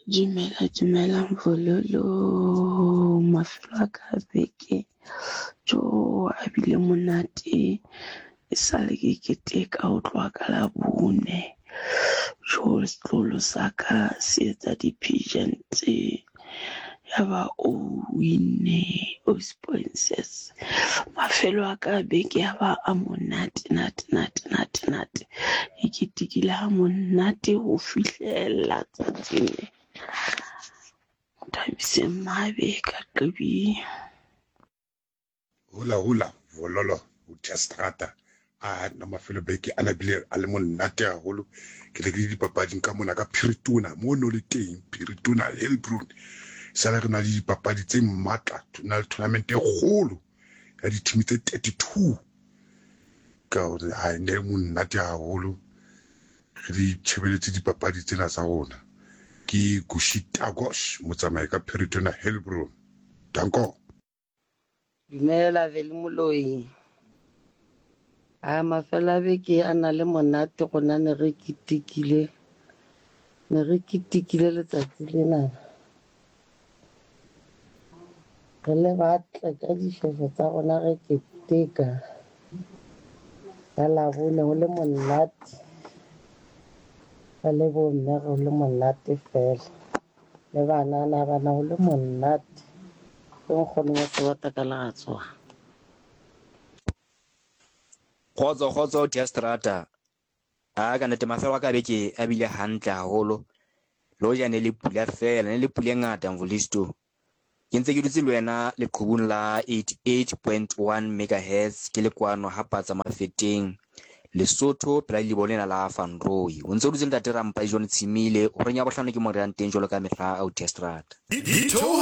Dumela dumelang bololo mafelo a ka a beke tjo a bile monate e sale ke keteka ho tloha ka Labone. Tjo setloholo sa ka se etsa di-pageant ya ba o winne Ausi Princess. Mafelo a ka a beke ya ba a monate nate nate nate nate. Ke ketekile ha monate ho fihlela tsatsing le. Thabiseng Mabe ka Qibing. Hula hula vololo ho tya seterata a nna mafelo beke a nabile a le monate haholo. Ke ne ke le dipapading ka mona ka Phiritona mo no le teng Phiritona Heilbron. Sala re na le dipapadi tse matla na le tournament e kgolo ya di-team tse 32 ka hore ha ne monate haholo re di tshebeletse dipapadi tsena tsa rona. Ke Gushi Tagosh motsamai ka Phiritona Heilbron. Danko. Dumela Veli Moloi. A mafelo a beke a na le monate rona ne re ketekile ne re ketekile letsatsi lena. Re le batle ka dishweshwe tsa rona re keteka ka Labone ho le monate. Re le bomme re le monate fela. Le banana bana ho le monate. Ke nkgono wa Sebata ka Leratswana. Kgotso kgotso tia strata. A ka nnete mafelo a ka beke a bile hantle haholo. Le hoja ne le pula fela, ne le pula e ngata Mvulisto. Ke ntse ke dutse le wena leqhubung la 88.1 megahertz ke le kwano ha Patsa Mafeteng, Lesotho pela lelibo lena la Van Rooi. O ntse o dutse le Ntate Rampai John Tshimile, horeng ya bohlano ke mo re yang teng jwalo ka mehla, Auti Estrada.